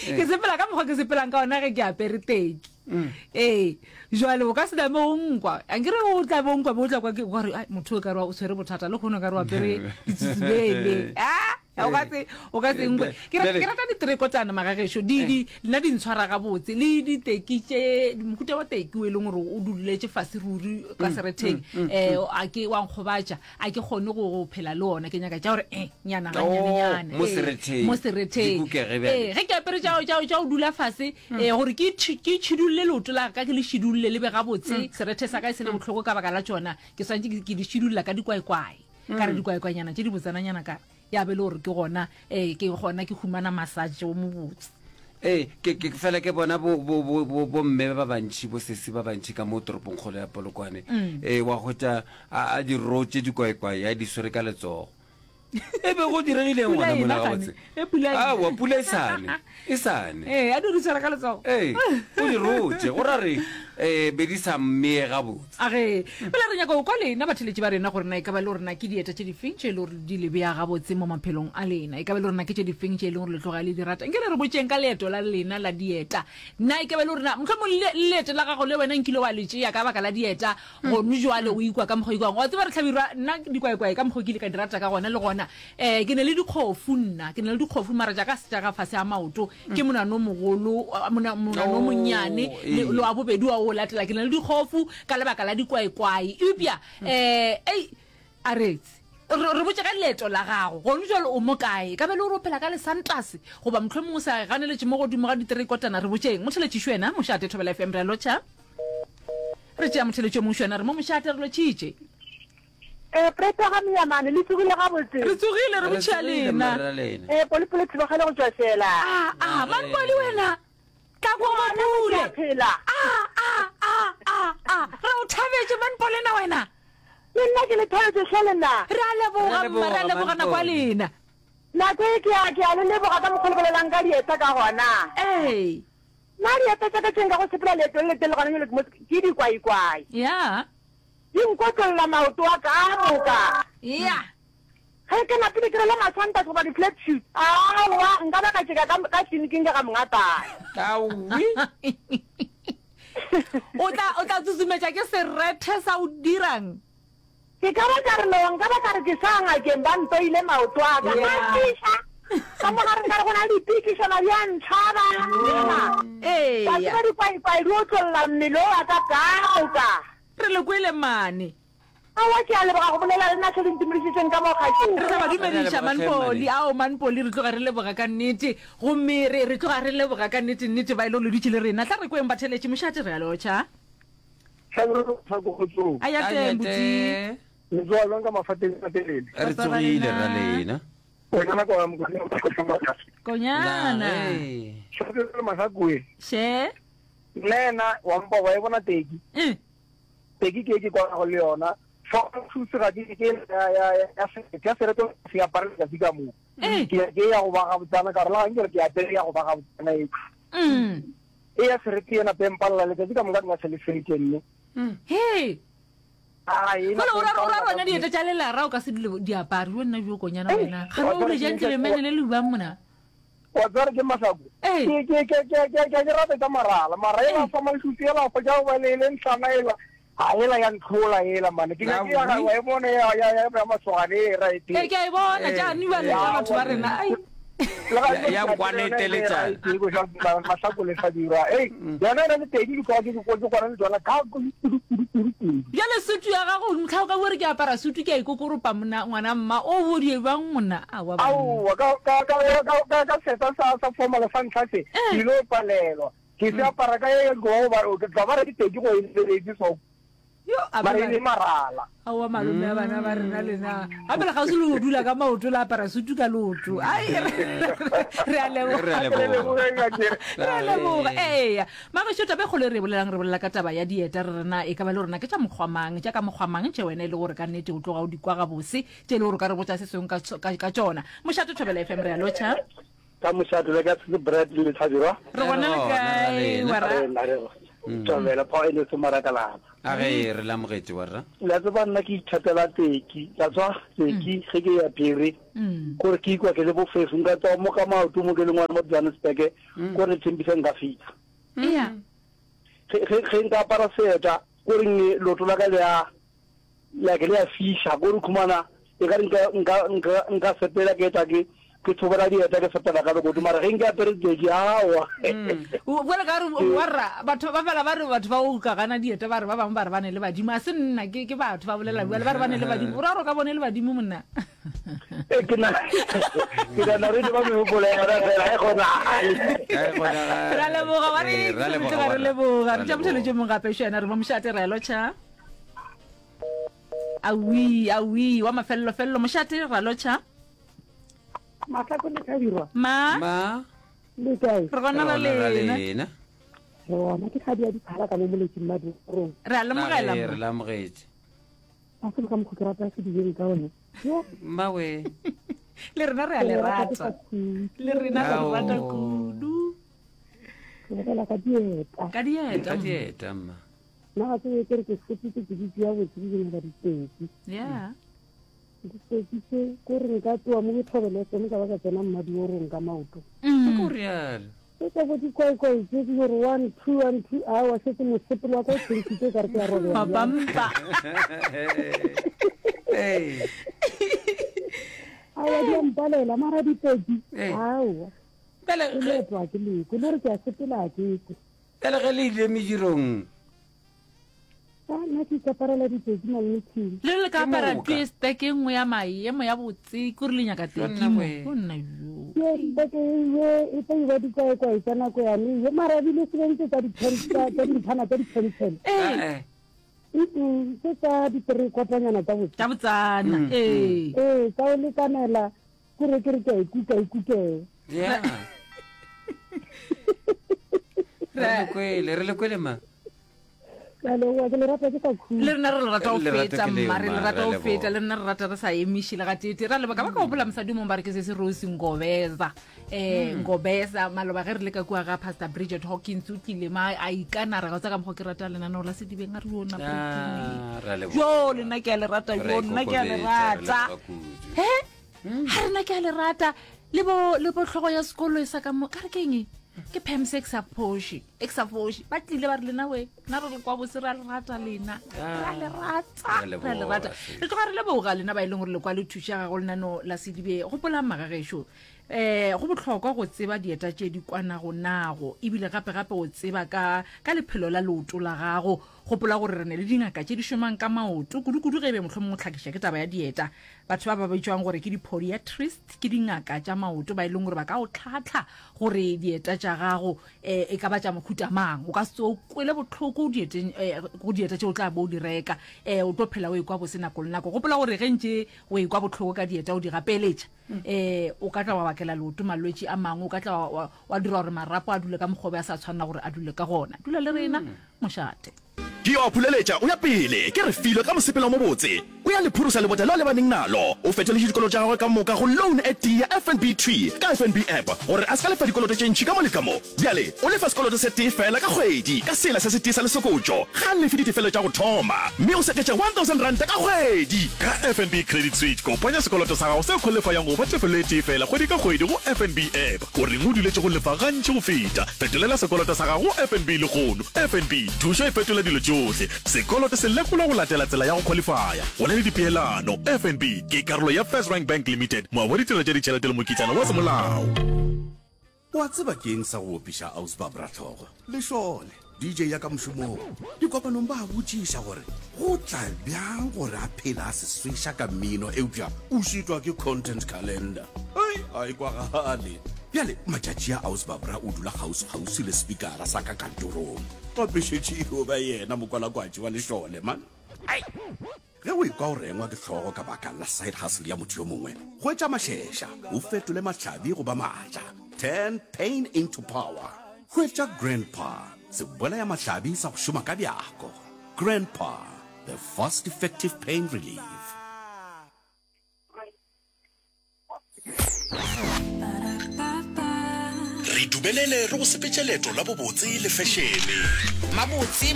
Ke sepela ka mokgwa ke sepelang ka ona ge ke apere teki. Ee, jwale o ka se name o nkwa. Ankere o tla be o nkwa be o tla kwa ke wa re, ai motho o ka re o tshwere bothata le kgono ka re o apere ditsutsubele. Ah, o ka se o ka se nkwe. Ke rata ke rata ditrekotana magagešo. Di di nna di ntshwara gabotse le diteki tše mohuta wa teki o e leng gore o duletše fase ruri ka seretheng. Eh a ke wa nkgobatša. A ke kgone go, go phela le ona. Ke nyaka tša gore eh, nyana Oh, ganyanenyana. mo Ee, seretheng. mo seretheng. Di kukege bjale. Ee, ge ke apere tša, tša, tša go dula fase, ee, gore ke tšhi, ke tšhidulle leoto la ka, ke le šidulle le be gabotse, serethe sa ka e se le bohloko ka baka la tšona, ke swanetše ke, ke di šidulla ka dikwaikwai. Ka re dikwaikwainyana tše dibotsananyana ka re, ya be e le gore ke gona, ee, ke gona ke humana massage o mobotse. Ee, ke, ke fela ke bona bo, bo, bo, bo, bomme ba bantši, bosesi ba bantši ka mo toropongkgolo ya Polokwane. Ee, wa hwetša a, a di rotše dikwaekwae, a di swere ka letsogo. E be go diregileng Pula gona e mola na gabotse? gane? E pula e na. Aowa, pula e sa ne, e sa ne. Ee, a di re swere ka letsogo. Ee, o di rotše, go ra re, eh, be di sa mmeye gabotse. A ge, bjale re nyaka go kwa lena batheeletši ba rena gore na e ka ba le gore na ke dieta tše difeng tše e le gore di le bea gabotse mo maphelong a lena. E ka ba le gore na ke tše difeng tše e leng gore le tloga le di rata. Nke le re botšeng ka leeto la lena la dieta. Na e ka ba le gore na mohlomong le leeto la gago le wena nkile wa le tšea ka baka la dieta, gone jwale o ikwa ka mokgwa o ikwang. Wa tseba re Hlabirwa, nna dikwaekwae ka mokgwa o ke ile ka di rata ka gona le gona. Um ke ne le dikgofu nna, ke ne le dikgofu mara tša ka se tša ka fase ga maoto. Ke monwana o mogolo, monwana o monnyane le le wa bobedi wa o latela. Ke na le dikgofu ka lebaka la dikwaekwae. Eupša um ei, a retse. Re re botše ka leeto la gago. Gone jwale o mo kae? E ka ba e le gore o phela ka lesantase goba mohlomongwe o sa ganeletše mo godimo ga diterekotana. Re botšeng. Motheletšišo wena, Mošate Thobela FM, re a lotšha. Re tšea motheletši o mongwe wena, re mo Mošate, re lotšhitše. Eh, Preta ga Miyamane, le tsogile gabotse? Re tsogile, re Re botšhia tsogile, lena. mma ra lena. Eh, Polipoli Thibagele go tšwa Sela. A, a, Manpoli wena, tla kwa Ngwana Mapule. ke a phela. A, a, a, a, a, re o thabetše Manpoli na wena? Le nna ke le thabetše hle le nna. Re a leboga, Re a mma, re a leboga, leboga nako ya Manpoli. lena. Nako e ke a, ke a le leboga ka mokgwa o le bolelang ka dieta ka gona. Ee. Nna dieta tša ka tše nka go sepela leeto le letelele gona bjale ke mo, ke dikwaikwai. Ya. Di nkotlolla maoto a ka a moka. Ya. Ge ke napile ke rwele masantase goba di-flat shoes, aowa, nka ba ka tšeka ka, ka tleliniking ka ga mongatana. Aowi. O tla, o tla tsusumetša ke serethe sa o dirang? Ke ka ba ka re no, nka ba ka re ke sa ngakeng ba ntoile maoto a ka. Ya. A fiša. Ka mo gare nka re go na le dipikišana di a ntšhaba. Ee. Wa tseba dikwaikwai di otlolla mmele o wa ka ka moka. Re le kwele mane. Aowa ke a leboga go bolela le nna hle le ntumedišitšeng ka mo kgašong. Re sa ba Re a dumediša leboga hle Manpoli. mmane. Ao Manpoli re tloga re leboga ka nnete. Gomme re re tloga re leboga ka nnete nnete ba e le gore le dutše le rena. Tla re kweng batheeletši mošate re a lotšha. Hlabirwa sa ko kgotsong. A ya teng buti. Le tsoga jwang ka mafateng a matelele? Re tsogile ra lena. Konyana kwa mokonyana wa Kgošomaka. Konyana. Hlabirwa le Masakoe. She. Nna yena wa mpa wa e bona teki. Mm. Teki ke e ke kwanago le yona. Shoes ga ke ke ya ya ya ya sereto se apare letsatsi ka moka. Eh. Ke ke ya go ba gabotsana ka gore la nke re ke apere ya go ba gabotsana e. Mm. E ya serete yena pempalla letsatsi ka moka nka se le fete mme. Hey. Ah, e Fela o ra o ra rona dieta tša lelara o ka se dule diapare yo nna jo konyana wena. Ga o le jang tlemene le le bang mona. Wa tseba ke mahlako. Ee. Ke ke ke ke ke ke ke rata tša marala. Mara ela fa mašutsi ela fa tša ba le le ntlana ela. Ha ela ya ntlhola ela mane. Ke nyake ya wa e bona ya ya ya ya masogane e right. Ee, ke a e bona tša niwa le tša batho ba rena. Ai. Ya- ya kwana e teletsana. Mahlako le Hlabirwa. Ei, yona e na le tedi di kwa ke ke ke kwana le tsona ka kudu kudu kudu kudu. Bjale sutu ya gago motlha o ka bore ke apara sutu ke a ikokoropa mona ngwana mma o bo di bang mona awa banna. Aowa ka ka ka ka ka ka seta sa sa formal sa ntlha se ke ile palelwa. Ke se apara ka ye go ba ke tla ba re ke tedi go e lebeletse so. Yo, a Mara ba e le marala. Aowa malome a bana ba rena lena. Gape le kgauswi le go dula ka maoto la apara sutu ka leoto. Ai re a leboga. Re a leboga. Re a leboga. Eya. Magešo taba e kgolo e re e bolelang re bolela ka taba ya dieta re rena e ka ba le rona ke tša mokgwa mang tša ka mokgwa mang tše wena e le gore ka nnete o tloga o di kwa gabose tše e le gore o ka re botša se sengwe ka ka tšona. Mošate Thobela FM re a lotšha. Ka mošate le ka se Brad le Hlabirwa. Re gona le kae wera? Thobela Power Energy Marakalaba. A ge re le amogetše warra. La tseba nna ke ithatela teki, la tswa teki ge ke ya Phiri. Kore ke ikwa ke le bofefo nka tswa mo ka maoto mo ke le ngwana mo Johannesburg kore Tembisa nka fihla. Yeah. Ge ge ge nka apara seeta kore nge leoto la ka le a like le a fiša kore khumana e ka re nka nka nka nka sepela ke eta ke ke thobela dieta ke sepela ka lekoto mara ge nke apere teki aowa. Bjale ka re warra batho ba fela ba re batho ba o ka gana dieta ba re ba bangwe ba re ba ne le badimo a se nna ke ke batho ba bolela bjale ba re ba ne le badimo o ra gore o ka bone le badimo monna. Ee, ke na ke nana re ba mehopolo ya yona fela e kgonagale. Ra leboga wa re re leboga re tša motheletše mong gape šena re mo mošate ra lotšha. Awi awi wa mafelelo felelo mošate ra lotšha. Mahlako le Thabirwa. Ma. Ma. Le kae? Re gona ra lena. Re gona ke kgadi ya diphala ka mo moletsing madurong. Re a lemogela. Re le amogetše. A se ka mokgwa ke rata se dijeng ka one. Mmawe. Le rena re a le rata. Le rena re rata kudu. Re bolela ka dieta. Ka dieta. Ka dieta mma. Nna ga tsebe ke re ke fetitse ke di tšea botse ke nyaka diteki. Yeah. Diteki tse ko re nka tsoa mo bothobele tsone ka ba ka tsena mmadiorong ka maoto. Ke ko rialo. Tse tsa bo dikwaekwae tse di gore one two one two aowa šetse mosepelo wa ka o tšhentšhitse o ka re ke a robega bjale. Mapampa. Aowa di a mpalela mara diteki Ee. aowa Bjale ke ge leeto a ke lekwe le gore ke a sepela a ke kwe. bjale ge le ile medirong A nna ke ikaparela diteki malmething. Le le ka Ke apara moka. tee steke e nngwe ya maemo ya botse kore le nyaka teki Nna mo. we. O nna yo. Ke steke ye e tla iba dikwaekwae tsa nako yane ye mara ebile se bentse tsa di-pen- tsa tsa dinthana tsa di-pencil. Ee, Eh, Mm-mm, tse tsa di-three-quarter-nyana tsa botse. tša botsana. Ee. Ee, tsa o lekanela kore ke re ke a ikuka ikukee. yeah. Re le kwele, re le kwele ma. Ke a leboga, ke le rata ke sa khutše. Le rena re le rata go Le rata feta, ke leo, mma, re ma, le rata re a go feta, leboga. le rena re rata re sa emiše le gateetee. Ra leboga, ka ba ka gopola mosadi o mongwe ba re ke se se Rose Ngobeza. Eh, Ngobeza, maloba ge re le ka kua ga Pastor Bridget Hawkins, o tlile ma a ikana re ga o tsa ka mokgwa ke rata lenaneo la Sedibeng, a re yo nna Ah, ra leboga. Jo, le nna ke a le rata, Re jo, nna ke a le ikokobetša, re rata. leboga kudu. He? Ga rena ke a le rata. Le bo, le bo hlogo ya sekolo e sa ka mo, ka re ke eng e? Ke Pams e ke sa phoše, e ke sa foše. Ba tlile ba re lena we, nna re le kwa bose re a le rata lena. Re a le rata, Re a re a le rata. leboga, Re tloga re leboga lena ba e leng gore le kwa le thuša ga go lenaneo la Sedibe. Gopolang magagešo, eh, go bohlokwa go tseba dieta tše di kwanago nago, ebile gape gape o tseba ka, ka lephelo la leoto la gago. Gopola gore re ne le dingaka tše di šomang ka maoto, kudu-kudu ge e be mohlomongwe o hlakiša ke taba ya dieta. Batho ba ba bitšwang gore ke di-podiatrist ke dingaka tša maoto ba e leng gore ba ka o tlhahla gore dieta tša gago e ka ba tša mohuta mang. O ka se tsoge o kwele bohloko dieteng, go dieta tše o tla bo o di reka. O tlo phela o ekwa bose nako le nako. Gopola gore ge ntše o ekwa bohloko ka dieta o di gapeletša, o ka tla wa bakela leoto malwetši a mangwe, o ka tla wa, wa, wa dira gore marapo a dule ka mokgwa o be a sa tshwanela gore a dule ka gona. Dula le rena. Mošate. Ke yo a phuleletša o ya pele, ke Refilwe ka mosepelo o mobotse. O ya le phurusa lebota leo a lebaneng nalo. O fetoletše dikoloto tša gagwe ka moka go loan e tee ya FNB thwi ka FNB app gore a se ka lefa dikoloto tše ntši ka mo le ka mo. Bjale o lefa sekoloto se tee feela ka kgwedi ka sela se setee sa lesokotšo. Ga a lefe ditefelo tša go thoma mme o seketša R1000 ka kgwedi. Ka FNB Credit Switch, kopanya sekoloto sa gago se khwalifayang go ba tefelo e tee feela kgwedi ka kgwedi go FNB app. O reng o duletše go lefa gantši go feta? Fetolela sekoloto sa gago go FNB lehono. FNB, thušo e fetola dilo tšohle. Sekoloto se lekolwa go latela tsela ya go khwalifaya. Go na le dipeelano. FNB ke karolo ya FirstRand Bank Limited, moabi wa ditirelo tša ditšhelete le mokitlana wa semolao. O a tseba ke eng sa go opiša Aus Barbra hlogo? Lešole, DJ ya ka mošomong. Dikopanong ba a botšiša gore go tla bjang gore a phele a se sweša ka mmino eupša o šitwa ke content calendar. Hei, a e kwagale. Bjale matšatši a Aus Barbra o dula kgauswi-kgauswi le spikara sa ka kantorong. Gape šetše e yo ba yena mokwalakwatši wa lešole, man. Ai! Ge o ekwa o rengwa ke hlogo ka baka la side hustle ya motho yo mongwe, hwetša mašeša o fetole mahlabi go ba maatla. Turn pain into power. Hwetša Grandpa, sebolayamahlabi sa go šoma ka bjako. Grandpa, the fast effective pain relief. Dumelele re go sepetše leeto la bobotse le fešene. Mabotse.